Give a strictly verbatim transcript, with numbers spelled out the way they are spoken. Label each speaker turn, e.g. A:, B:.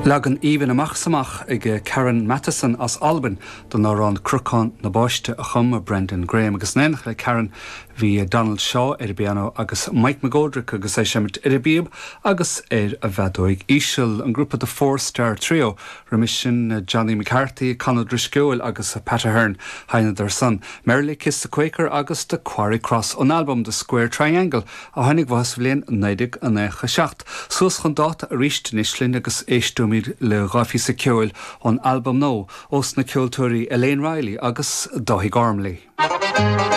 A: Leagan aoibhinn amach is amach ag Karen Matheson as Albain don amhrán Cnocán na Báiste a chum Brendan Graham agus in éineacht le Karen bhí Donald Shaw ar an bpianó agus Mike McGoldrick agus é ag seinm ar an bpíob agus ar an bhfeadóig íseal an grúpa the Four Star Trio roimhe sin Johnny McCarthy, Conor Drisceoil agus Pat Ahern sheinneadar san. Merrily Kiss the Quaker agus the Quarry Cross ón album The Square Triangle a tháinig amach sa bhliain naoi déag nócha seacht. Suas chun dáta arís anois linn agus éisteoimid le dhá phíosa ceoil ón album nua ó na ceoltóirí Elaine Riley agus Dáithí Gormley.